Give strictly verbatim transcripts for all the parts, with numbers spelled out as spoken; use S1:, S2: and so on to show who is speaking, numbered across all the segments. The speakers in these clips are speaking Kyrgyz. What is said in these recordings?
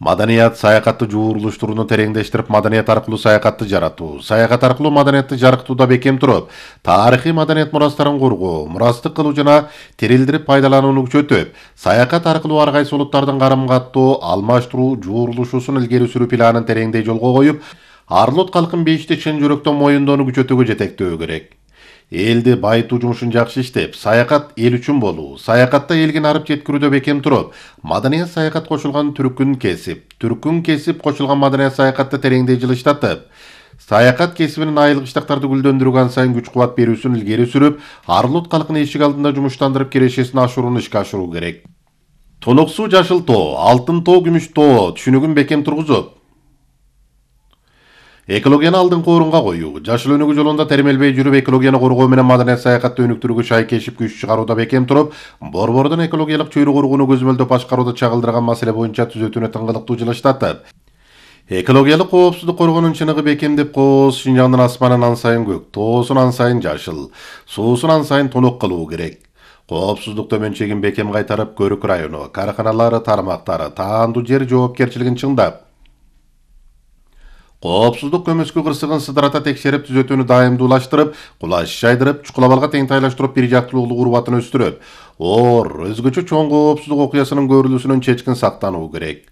S1: Маданият саякатты жуурулуштурууну тереңдештирип, маданият аркылуу саякатты жаратуу, саякат аркылуу маданиятты жарыктууда бекем туруп, тарыхый маданият мурастарын коргоо, мурастык кылуу жана терилдирип пайдаланууну күчөтүп, саякат аркылуу ар кайсы улуттардын карым-каттоо, алмаштыруу, жуурулушуусун илгери сүрүү планын тереңдей жолго коюп, ар улут калкын бейишти чын жүрөктөн моюндоону күчөтүүгө жетектөө керек. Элди байытуу жумушун жакшы иштеп, саякат эл үчүн болуу, саякатта элге нарып жеткирүүдө бекем туруп, маданият саякат кошулган түркүн кесип, түркүн кесип кошулган маданият саякатты тереңдей жылыштатып, саякат кесибинин айылык иштактарды гүлдөндүрүүгө ан сайын күч-кубат берүүсүн илгери сүрүп, ар улут калкын эшик алдында жумуштандырып кирешесин ашырууну ишке ашыруу керек. Тонок суу жашыл тоо, алтын тоо, күмүш тоо түшүнүгүн бекем тургузуп, экологияны алдыңкы орунга коюу, жашыл өнүгүү жолунда термелбей жүрүп, экологияны коргоо менен маданият саякатты өнүктүрүүгө шайкешип күч чыгарууда бекем туруп, Борбордун экологиялык чөйрө коргоону көзөмөлдөп башкарууду чагылдырган маселе боюнча түзөтүүнү тыңгылыктуу жылыштатып, экологиялык коопсуздук коргоонун чыныгы бекемдеп, кооз Шинжаңдын асманын ан сайын көк, тоосун ан сайын жашыл, суусун ан сайын тонок кылуу керек. Коопсуздук төмөнчөгүн бекем кайтарып, Көрүк району, карканалары, тармактары, таандуу жер жоопкерчилигин чыңдап, коопсуздук көмөскө кырсыгын сыдырата текшерип, түзөтүүнү дайымдуулаштырып, кулаш жайдырып, чукулабалга тең тайлаштырып, бир жактуулук урбатын өстүрүп, оор, өзгөчө чоң коопсуздук окуясынын көрүлүүсүнөн чечкин сактануу керек.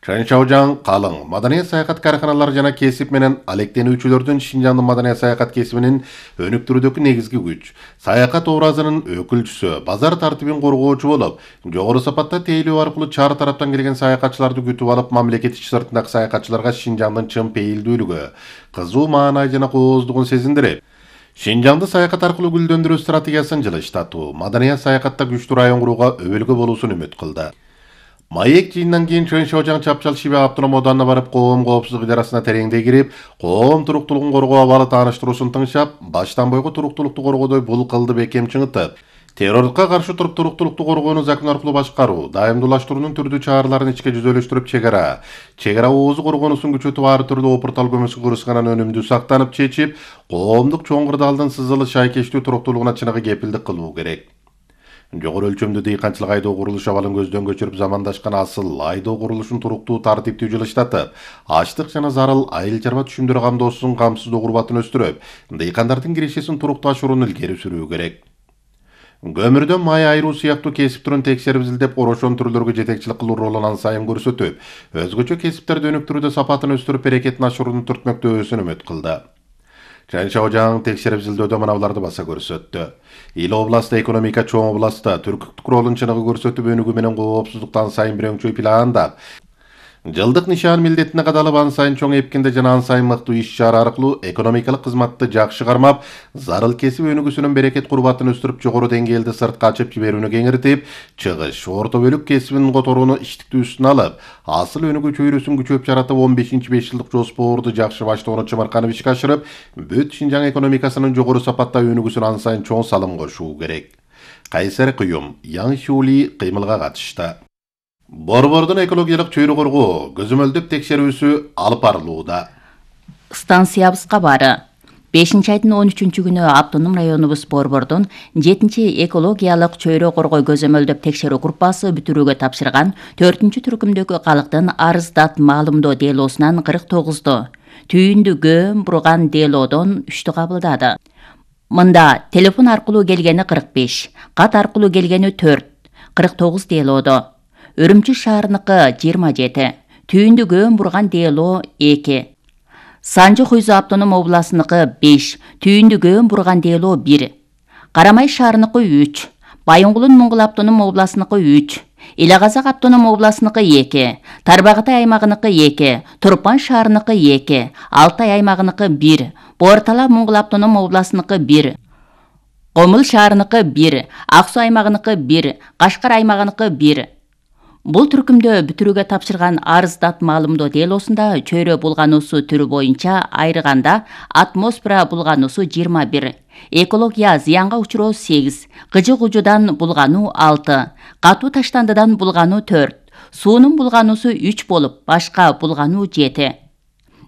S1: Чанчаужаң калың маданият саякат карканалары жана кесип менен алектенүүчүлөрдүн Шинжаңдын маданият саякат кесибинин өнүктүрүүдөгү негизги күч, саякат образынын өкүлчүсү, базар тартибин коргоочу болуп, жогору сапатта тейлөө аркылуу чар тараптан келген саякатчыларды күтүп алып, мамлекет ички сыртындагы саякатчыларга Шинжаңдын чын пейилдүүлүгү, кызуу маанай жана кооздугун сезиндирип, Шинжаңды саякат аркылуу гүлдөндүрүү стратегиясын жылыштатуу, маданият саякатта күчтүү район курууга өбөлгө болуусун үмүт кылды. Маек жыйындан кийин Чоң-Шаожаң Чапчал Шибе автоном оданына барып, коом коопсуздук идарасына тереңдей кирип, коом туруктуулугун коргоо абалы тааныштыруусун тыңшап, баштан бойго туруктуулукту коргоодой бул кылды бекем чыңытып, террордукка каршы туруп туруктуулукту коргоону закон аркылуу башкаруу, дайымдуулаштыруунун түрдүү чараларын ичке жүзөлөштүрүп, чек ара, чек ара оозу коргоонусун күчөтүп, ар түрдүү опуртал көмөскө кырсыгынан өнүмдүү сактанып чечип, коомдук чоң кырдаалдын сызылы шайкештүү туруктуулугуна чыныгы кепилдик кылуу керек. Жогору өлчөмдүү дыйканчылык айдоо курулуш абалын көздөн көчүрүп, замандашкан асыл айдоо курулушун туруктуу тартиптүү жылыштатып, ачлык жана зарыл айыл чарба түшүмдөрү камдоосун камсыздоо урбатын өстүрүп, дыйкандардын кирешесин туруктуу ашырууну илгери сүрүү керек. Көмүрдөн май айыруу сыяктуу кесип түрүн текшерип изилдеп, орошон түрлөргө жетекчилик кылуу ролун ан сайын көрсөтүп, өзгөчө кесиптерди өнүктүрүүдө сапатын өстүрүп, берекетин ашыруунун түртмөктөөсүн үмүт кылды. Чоң-Шаожаң текшерип изилдөөдө мыналарды баса көрсөттү. Ил областы экономика чоң областта түркүктүк ролун чыныгы көрсөтүп, өнүгүү менен коопсуздуктан сайын бирөңчөй пландап, жылдык нишан милдетине кадалып, ан сайын чоң эпкинде жана ан сайын мыктуу иш чара аркылуу экономикалык кызматты жакшы кармап, зарыл кесип өнүгүүсүнүн берекет курбатын өстүрүп, жогору деңгээлде сыртка ачып жиберүүнү кеңиртип, чыгыш, орто бөлүк кесибин которууну иштиктүү үстүнө алып, асыл өнүгүү чөйрөсүн күчөп жаратып, он бешинчи беш жылдык жоспорду жакшы баштоону чымырканып ишке ашырып, бүт Шинжаң экономикасынын жогору сапатта өнүгүүсүнө ан сайын чоң салым кошуу керек. Кайсар Кыюм, Яң Шуули кыймылга катышты. Борбордун экологиялык чөйрө коргоо көзөмөлдөп текшерүүсү алып барылууда.
S2: Станциябызга бары. бешинчи айдын он үчүнчү күнү автоном районубуз Борбордун жетинчи экологиялык чөйрө коргоо көзөмөлдөп текшерүү группасы бүтүрүүгө тапшырган төртүнчү түркүмдөгү калктын арыздат маалымдоо делоосунан кырк тогузду, түйүндү көөм бурган делоодон үчтү кабылдады. Мында телефон аркылуу келгени кырк беш, кат аркылуу келгени төрт, кырк тогуз делоодо. Үрүмчү шаарыныкы жыйырма жети, түйүндү көөм бурган делоо эки. Санжы Хуйзу автоном областыныкы беш, түйүндү көөм бурган делоо бир. Карамай шаарыныкы үч, Байоңгулун Моңгул автоном областыныкы үч, Эле-Казак автоном областыныкы эки, Тарбагатай аймагыныкы эки, Турпан шаарыныкы эки, Алтай аймагыныкы бир, Боортала Моңгул автоном областыныкы бир, Комул шаарыныкы бир, Ак Суу аймагыныкы бир, Кашкар аймагыныкы бир. Бул түркүмдө бүтүрүүгө тапшырган арыздат маалымдоо делоосунда чөйрө булгануусу түрү боюнча айрыганда атмосфера булгануусу жыйырма бир, экология зыянга учуроо сегиз, кыжык ужудан булгануу алты, катуу таштандыдан булгануу төрт, суунун булгануусу үч болуп, башка булгануу жети.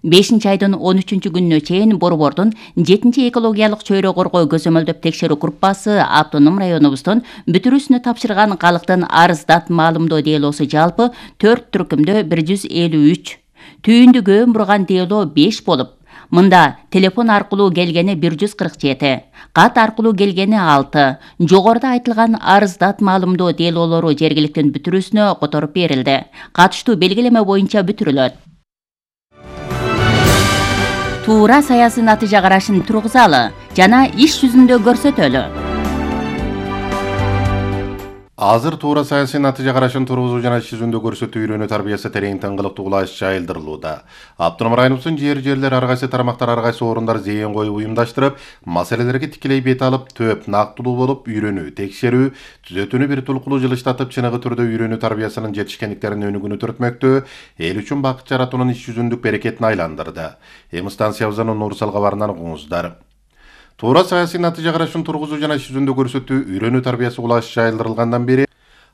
S2: бешинчи айдын он үчүнчү күнүнө чейин Борбордун жетинчи экологиялык чөйрө коргоо көзөмөлдөп текшерүү группасы автоном районубуздун бүтүрүүсүнө тапшырган калктын арыздат маалымдоо делосу жалпы төрт түркүмдө бир жүз элүү үч, түйүндү көөн бурган дело беш болуп, мында телефон аркылуу келгени бир жүз кырк жети, кат аркылуу келгени алты, жогоруда айтылган арыздат маалымдоо делолору жергиликтин бүтүрүүсүнө которуп берилди. Катыштуу белгилеме боюнча бүтүрүлөт. Туура саясий натыйжа карашын тургузалы жана иш жүзүндө көрсөтөлү.
S1: Азыр туура саясий натыйжа карашын тургузуу жана иш жүзүндө көрсөтүү үйрөнүү тарбиясы терең тыңгылыктуу кулаш жайылдырылууда. Автоном районубуздун жер жерлер ар кайсы тармактар ар кайсы орундар зээн коюп уюмдаштырып, маселелерге тикелей бет алып, төп нактылуу болуп, үйрөнүү, текшерүү, түзөтүүнү бир тулкулуу жылыштатып, чыныгы түрдө үйрөнүү тарбиясынын жетишкендиктерин өнүгүүнү төртмөктө, эл үчүн бакыт жаратуунун иш жүзүндүк берекетин айландырды. Эми станциябыздын Нурсал кабарынан угуңуздар. Туура саясий натыйжа карашын тургузуу жана иш жүзүндө көрсөтүү үйрөнүү тарбиясы кулаш жайылдырылгандан бери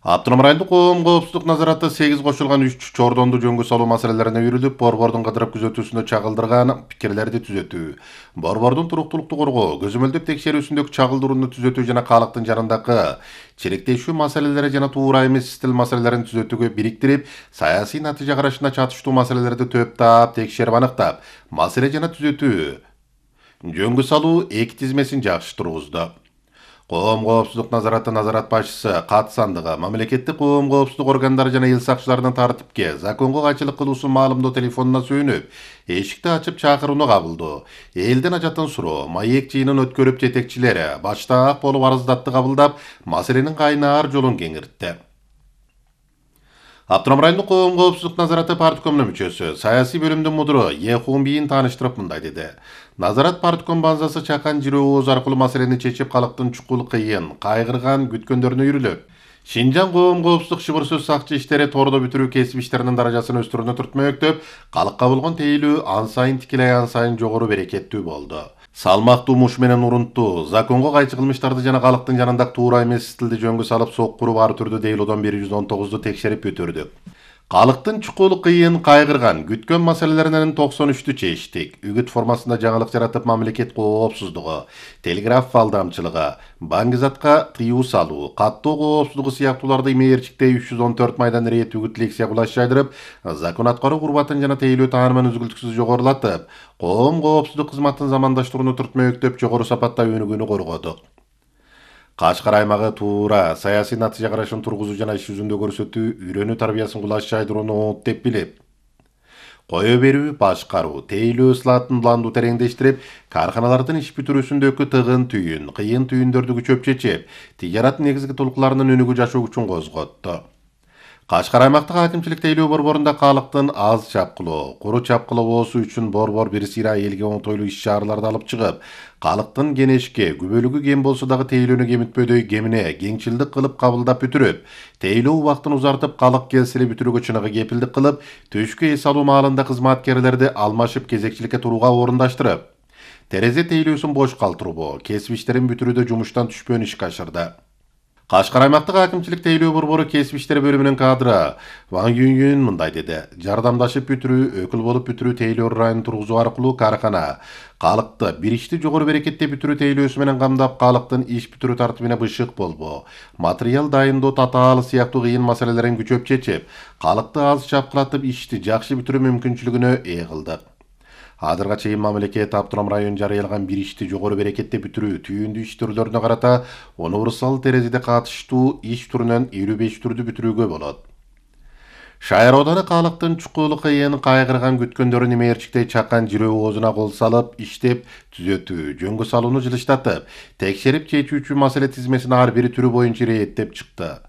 S1: Автоном райондук коом коопсуздук назараты сегиз кошулган үч чордонду жөнгө салуу маселелерине үйрүлүп, Борбордун кыдырып күзөтүүсүндө чагылдырган пикирлерди түзөтүү, Борбордун туруктуулукту коргоо, көзөмөлдөп текшерүүсүндөгү чагылдырууну түзөтүү жана калктын жанындагы чиректешүү маселелери жана туура эмес стил маселелерин түзөтүүгө бириктирип, саясий натыйжа карашына чатыштуу маселелерди төптап, текшерип аныктап, маселе жана түзөтүү жөнгө салуу эки тизмесин жакшы тургузду. Коом коопсуздук назараты назарат башчысы кат сандыгы мамлекеттик коом коопсуздук органдары жана эл сакчыларынын тартипке, законго кайчылык кылуусун маалымдоо телефонуна сүйүнүп, эшикти ачып чакырууну кабылдоо, элдин ажатын суроо, маек жыйынын өткөрүп жетекчилери баштаак болуп арыздатты кабылдап, маселенин кайнаар жолун кеңиртти. Автоном райондук коом коопсуздук назараты парткомунун мүчөсү, саясий бөлүмдүн мудуру Ехун бийин тааныштырып мындай деди. Назарат партком базасы чакан жирөө ооз аркылуу маселени чечип, калктын чукул кыйын, кайгырган күткөндөрүнө үйрүлөт. Шинжаң коом коопсуздук шыбыр сөз сакчы иштери тордо бүтүрүү кесип иштеринин даражасын өстүрүүнү түртмөктөп, калкка болгон тейлөө ан сайын тикелей ан сайын жогору берекеттүү болду. Салмактуу муш менен урунттуу, законго кайчы кылмыштарды жана калктын жанындагы туура эмес стилди жөнгө салып, соккуру бар түрдүү дейлоодон бир жүз он тогузду текшерип бүтүрдүк. Калктын чукул кыйын, кайгырган, күткөн маселелеринен токсон үчтү чечтик. Үгүт формасында жаңылык жаратып, мамлекет коопсуздугу, телеграф алдамчылыгы, баңгизатка тыюу салуу, каттоо коопсуздугу сыяктууларды имээрчиктей үч жүз он төрт майдан рейд үгүт лекция кулаш жайдырып, закон аткаруу курбатын жана тейлөө таанымын үзгүлтүксүз жогорулатып, коом коопсуздук кызматын замандаштырууну түртмөктөп, жогору сапатта өнүгүүнү коргодук. Кашкар аймагы туура саясий натыйжа карашын тургузуу жана иш жүзүндө көрсөтүү үйрөнүү тарбиясын кулаш жайдырууну оңот деп билип, кое берүү, башкаруу, тейлөө ысылатын уланду тереңдештирип, карханалардын иш бүтүрүүсүндөгү тыгын түйүн, кыйын түйүндөрдү күчөп чечип, тижарат негизги толкуларынын өнүгүү жашоо күчүн козготту. Кашкар аймактык акимчилик тейлөө борборунда калктын аз чапкылоо, куру чапкылоосу үчүн борбор бир сыйра элге оңтойлуу иш чараларды алып чыгып, калктын кенешке, күбөлүгү кем болсо дагы тейлөөнү кемитпөдөй кемине кеңчилдик кылып кабылдап бүтүрүп, тейлөө убактын узартып, калк келсели бүтүрүүгө чыныгы кепилдик кылып, түшкү эс алуу маалында кызматкерлерди алмашып кезекчиликке турууга орундаштырып, терезе тейлөөсүн бош калтырбоо, кесип иштерин бүтүрүүдө жумуштан түшпөөн ишке ашырды. Кашкар аймактык акимчилик тейлөө борбору кесип иштери бөлүмүнүн кадры Ван Юнюн мындай деди. Жардамдашып бүтүрүү, өкүл болуп бүтүрүү тейлөө районун тургузуу аркылуу каркана, калкты бир ишти жогору берекетте бүтүрүү тейлөөсү менен камдап, калктын иш бүтүрүү тартибине бышык болбоо, материал дайындоо татаалы сыяктуу кыйын маселелерин күчөп чечип, калкты аз чапкылатып ишти жакшы бүтүрүү мүмкүнчүлүгүнө ээ кылдык. Азырга чейин мамлекет автоном район жарыялаган бир ишти жогору берекетте бүтүрүү түйүндүү иш түрлөрүнө карата универсал терезеде катыштуу иш түрүнөн элүү беш түрдү бүтүрүүгө болот. Шайыр ооданы калктын чукул кыйын, кайгырган күткөндөрүн имээрчиктей чакан жирөө оозуна кол салып, иштеп, түзөтүү, жөнгө салууну жылыштатып, текшерип чечүүчү маселе тизмесин ар бир түрү боюнча иреттеп чыкты.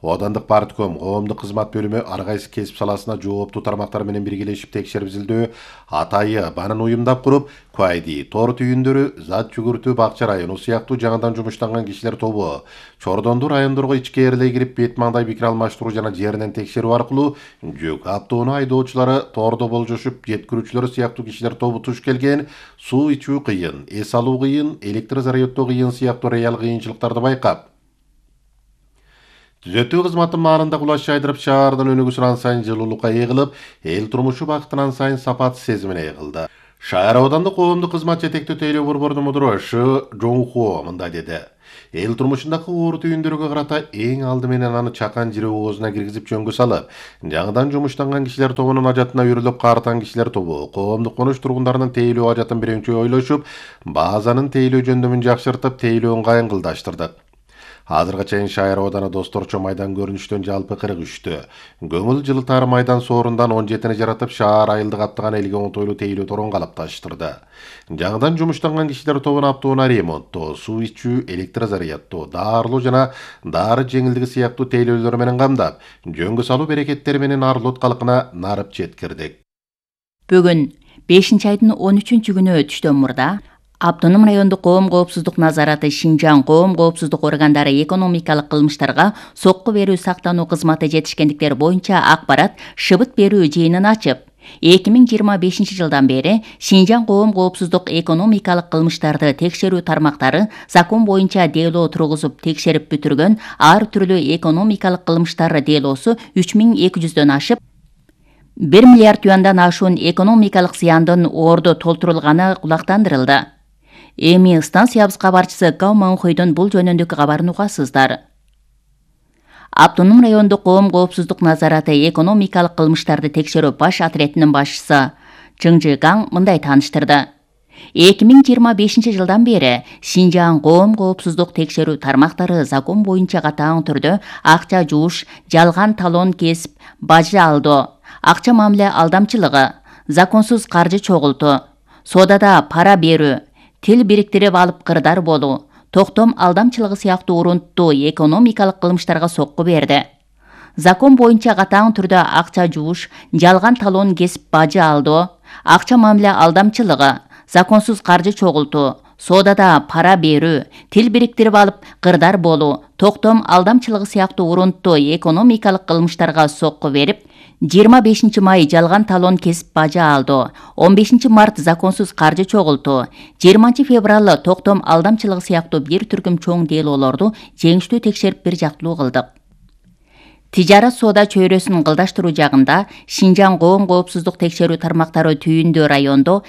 S1: Оодандык партком, коомдук кызмат бөлүмү ар кайсы кесип саласына жооптуу тармактар менен биргелешип текшерип изилдөө, атайы банын уюмдап куруп, Куайди, тор түйүндөрү, зат жүгүртүү, Бакча району сыяктуу жаңыдан жумуштанган кишилер тобу, Чордонду райондорго ичкээрлей кирип, бет маңдай пикир алмаштыруу жана жеринен текшерүү аркылуу жүк автоунаа айдоочулары, тордо болжошуп, жеткирүүчүлөр сыяктуу кишилер тобу туш келген, суу ичүү кыйын, эс алуу кыйын, электр заряддоо кыйын сыяктуу реал кыйынчылыктарды байкап, Түзөтүү кызматы маалында кулаш жайдырып шаардын өнүгүүсүн ан сайын жылуулукка ээлеп, эл турмушу бактынан сайын сапат сезимине ээлди. Шаар аудандык коомдук кызмат жетектөө тейлөө борбордун мудуру Ш Жоңхо мындай деди. Эл турмушундагы оор түйүндөргө карата эң алды менен аны чакан жире оозуна киргизип жөнгө салып, жаңыдан жумуштанган кишилер тобунун ажатына үйрүлүп каартан кишилер тобу коомдук конуш тургундарынын тейлөө ажатын биринчи ойлошуп, базанын тейлөө жөндөмүн жакшыртып, тейлөө ыңгайын кылдаштырдык. Азырга чейин Шайыр ауданы досторчо майдан көрүнүштөн жалпы кырк үчтү. Көңүл жылытар майдан соорундан он жетини жаратып, шаар айылды каптаган элге оңтойлуу тейлөө торон калыпташтырды. Жаңыдан жумуштанган кишилер тобун аптоона ремонттоо, суу ичүү, электр зарядтоо, даарылоо жана дары жеңилдиги сыяктуу тейлөөлөр менен камдап, жөнгө салуу берекеттери менен Арлот калкына нарып жеткирдик.
S2: Бүгүн бешинчи айдын он үчүнчү күнү түштөн мурда Автоном райондук коом коопсуздук назараты Шинжаң коом коопсуздук органдары экономикалык кылмыштарга сокку берүү сактануу кызматы жетишкендиктер боюнча акпарат шыбыт берүү жыйынын ачып, эки миң жыйырма бешинчи жылдан бери Шинжаң коом коопсуздук экономикалык кылмыштарды текшерүү тармактары закон боюнча дело тургузуп текшерип бүтүргөн ар түрлүү экономикалык кылмыштар делосу үч миң эки жүздөн ашып, бир миллиард юандан ашуун экономикалык зыяндын ордо толтурулганы кулактандырылды. Эми станциябыз кабарчысы Гау Манхойдон бул жөнүндөгү кабарын угасыздар. Автоном райондук коом коопсуздук назараты экономикалык кылмыштарды текшерүү баш отрядынын башчысы Чыңжы Гаң мындай тааныштырды. эки миң жыйырма бешинчи жылдан бери Шинжаң коом коопсуздук текшерүү тармактары закон боюнча катаң түрдө акча жууш, жалган талон кесип, бажы алдоо, акча мамиле алдамчылыгы, законсуз каржы чогултуу, содада пара берүү, тил бириктирип алып кырдар болуу, токтом алдамчылыгы сыяктуу урунттуу экономикалык кылмыштарга сокку берди. Закон боюнча катаң түрдө акча жууш, жалган талон кесип бажы алдоо, акча мамиле алдамчылыгы, законсуз каржы чогултуу, содада пара берүү, тил бириктирип алып кырдар болуу, токтом алдамчылыгы сыяктуу урунттуу экономикалык кылмыштарга сокку берип, жыйырма бешинчи май жалган талон кесип бажы алдоо, он бешинчи март законсуз каржы чогултуу, жыйырманчы февраль токтом алдамчылыгы сыяктуу бир түркүм чоң делолорду жеңиштүү текшерип бир жактылуу кылдык. Тижарат соода чөйрөсүн кылдаштыруу жагында Шинжаң коом коопсуздук текшерүү тармактары Түйүндө райондо